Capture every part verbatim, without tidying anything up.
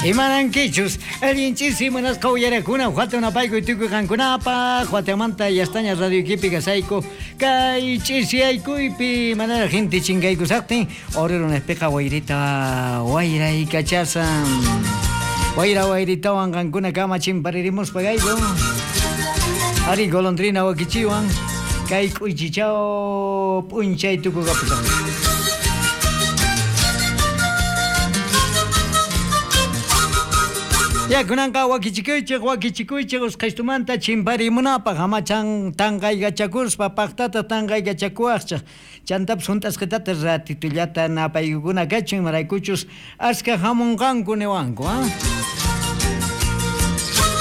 Imanankichus allinchisi munasqa uyarakuna huatunapayku tukuy qankunapaq Huatamanta yastaña radio equipi kasayku kay ch'isiyaykuypi manaraq gente chinkaykusaqtin orero nespiqa wayrita wayraykachashan wayra wayritawan qankuna kama chimparirimuspa kayku ari golondrina wakichiwan kay k'uychichaw p'unchay tukukapusan. Ya kunanqa wakichikuychik wakichikuychik usqhaytumanta chimparimunapaq amachan tanqaykachakuspa paqtata tanqaykachakuwaqchik chantapis hunt'asqitata ratitullata napaykukuna kachun imaraykuchus aska hamunqanku niwanku ha.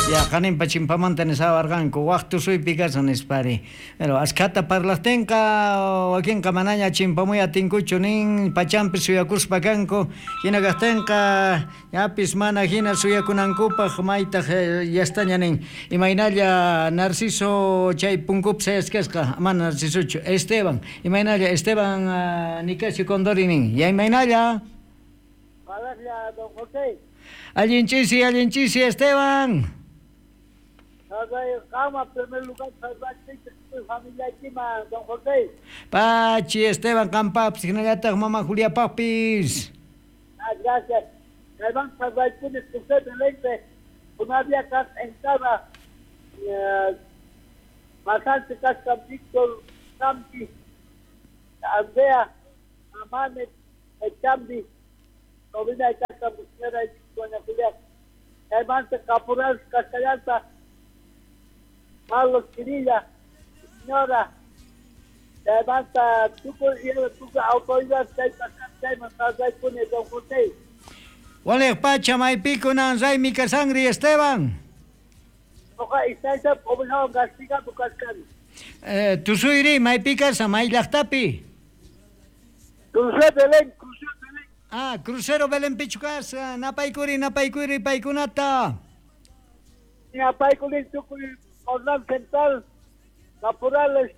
Ya qaninpa chimpamanta nisawarqanku waq tusuypi kashan nispari pero askhata parlaqtinqa wakinqa manaña chimpamuy atinkuchu nin pachanpi suyakuspa kanku hina kaqtinqa yapis mana hina suyakunankupaq maytaq yastaña nin imaynalla Narciso chay punkupi sayasqasqa mana Narcisochu Esteban imaynalla Esteban uh, Nicasio Condori nin ya imaynalla Palabra don José. Allinchisi allinchisi Esteban. Kama primer lugar familia don José. Pachi Esteban Campaps, hinallataq mama Julia Papis. Ah, gracias. Kayman sarraykuni José Belén, una había entrada Masante kasqa Víctor Campi, Andrea, Amane, Chambi, Sobrina kasqa señora doña Julia. Kaymanta Caporal Castellanta, Carlos Quirilla, señora, levanta tuco y tuco autoridad, don José. Wale pacha maypikunan raymi kasangri Esteban. Oja istaisa obligado castiga tu cascani. Eh, tusuyri maypi kasa may llaqtapi. Crucero Belén, Crucero Belén. Ah, Crucero Belén pichu kasa, napaykuri napaykuri paykunata. Napaykuri tukuy Orlán Central, Caporales,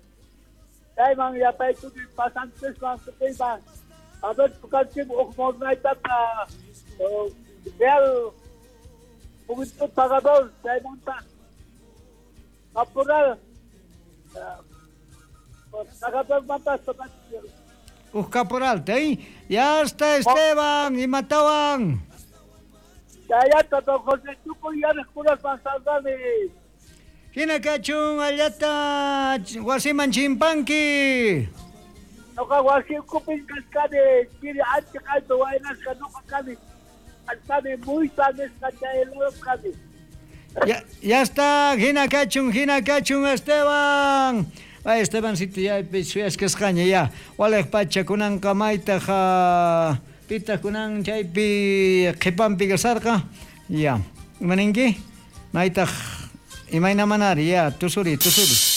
Chayman yapaykuni pasantes man tukuyman. A ver, tukanchik uj mornaytata Real Juventud Pagador, chaymanta Caporal, Pagador manta Uj caporal, ¿eh? Ya está Esteban, y matawan. Chayata, don José, tukuy yarikunas pasandani. Hina kachun allata wasiman chimpanki. Noqa wasi ukupin kashkani chiri ancha kayta waynasqa noqa kani kashkani muyta nisqa chay lado kani. Ya, ya está, hina kachun, hina kachun Esteban. Ay, Estebancito ya suyasqasqaña ya. Waliq pacha kunanqa maytaq pitaq kunan chaypi qhipanpi kasarqa. Ya. Imaninki? Maytaq imayna manari ya tusuri tusuri.